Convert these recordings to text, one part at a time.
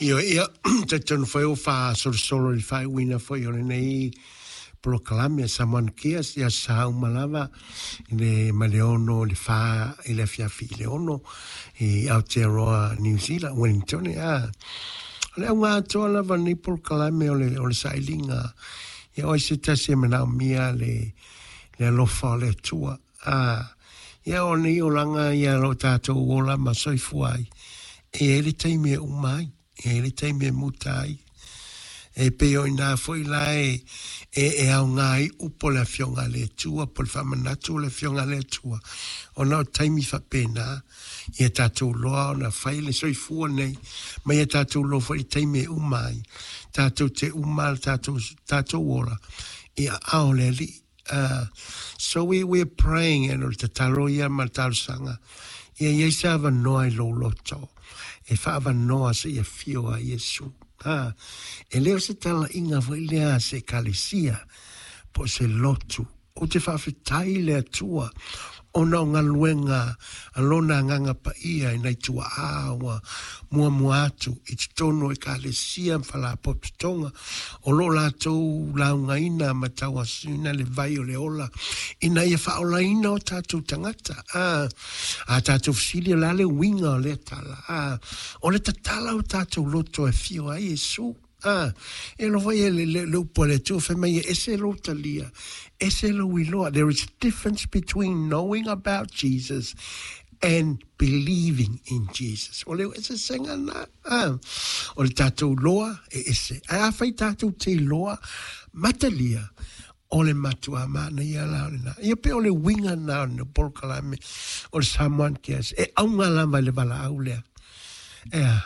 Ioe, ia, talitonu foi ua faasolosolo i le faaiuina foi o lenei polokalame a Samoan Cares i aso sa uma lava i le mai le 6 i le 4 i le afiafi i le 6 i Aotearoa New Zealand, Wellington, a. O le auga atoa lava o lenei polokalame o le, o le sailiga ia o ai se tasi e manaomia le, le alofa o le Atua. A, ia o nei olaga ia o lo o tatou ola ma soifua ai, e i ai le taimi e uma ai, e i ai le taimi e muta ai. E pei o inā foi la e, e, e aoga ai upu o le Afioga a le Atua po o le faamanatu o le Afioga a le Atua, ona o taimi faapena, ia tatou loa ona fai le soifua nei, ma ia tatou loa foi le taimi e uma ai, tatou te uma le tatou, tatou ola i aao o le Alii. So we are praying and o le tatalo ia ma le talosaga ia i ai se avanoa i lou loto e faaavanoa seia afio ai Iesu. E le o se talaiga foi lea a se ekalesia po o se lotu. Ou te faafetai i le Atua ona o galuega a Lona Agaga Paia i nai tuaa ua muamua atu i totonu o Ekalesia ma Faalapotopotoga o lo o latou laugaina ma tauasuina le vai o le ola ina ia faaolaina o tatou tagata. A, a tatou fesili o le a le uiga o lea tala? A, o le tatala o tatou loto e afio ai Iesu. A, e alofa ia le, le, le upu a le Atua fai mai e ese lou talia, ese lou iloa. There is a difference between knowing about Jesus and believing in Jesus. O le eseesega na, a, o le tatou loa e ese. Ae afai tatou te iloa ma talia, o le matuā manaia la o lena. Ia pei o le uiga na o le polokalame o le Samoan Cares. E auga lava i le valaau lea. Ea,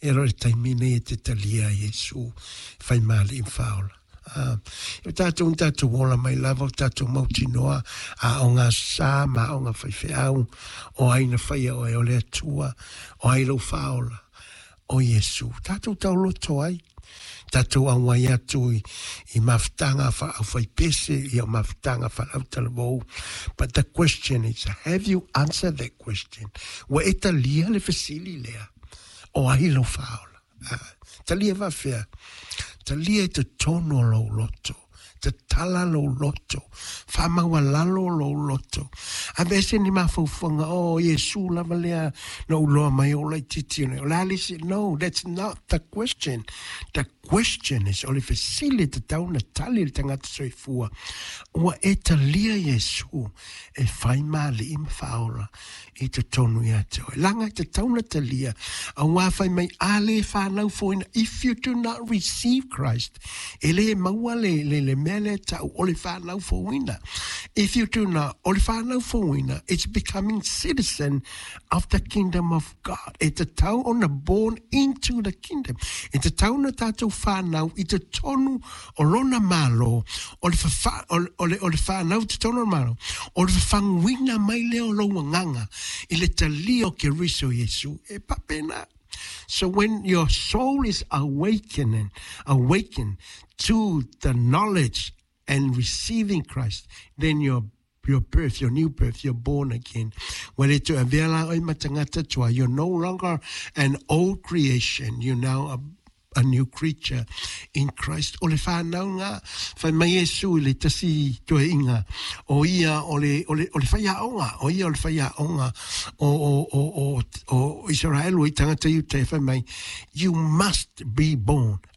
e loa le taimi nei e te talia ai Iesu e fai ma Alii ma Faaola. Ah, e tatou ni tatou ola mai lava o tatou mautinoa aoga sa ma aoga faifeau o ai na faia oe o le Atua, o ai lou Faaola, o Iesu. Tatou taoloto ai, tatou auai atu i, i mafutaga aufaipese, ia mafutaga faalautalavou. But the question is, have you answered that question? Ua e talia le fesili lea, o ai lou Faaola? Ah, talia faafefea? Talia i totonu o lou loto. Tatala lou loto, faamaualalo lou loto. Aveese ni mafaufauga, oh, Iesu lava lea na ou loa mai ou laitiiti nei. O le a le isi? No, that's not the question. The question is, o le fesili e tatau ona tali e le tagata soifua, ua e talia Iesu e fai ma alii ma faaola i totonu ia te oe. Leaga e tatau ona talia, auā fai mai, a le whanau foina, if you do not receive Christ, e le maua le, le, le mea lea tau o le whanau fouina. If you do not, o le whanau fouina, it's becoming citizen of the kingdom of God. E tatau ona born into the kingdom. E tatau ona tātou whanau i totonu o lona Malo, o le, whawha, o, o le, o le whanau i totonu o le Malo, o le whawhanguina mai lea o lou agaga i le talia o Keriso Iesu, e faapena. So when your soul is awakening, awakened to the knowledge and receiving Christ, then your your birth, your new birth, you're born again. Ua le toe avea la oe ma tagata tuai, you're no longer an old creation, you're now a new creature in Christ. O le whānaunga, whai mai Iesu i le tasi toeaiga, o ia o le, o le, o le whaiaonga, o ia o le whaiaonga o, o, o, o, o Israel o i tangata Iuta e whai mai, you must be born.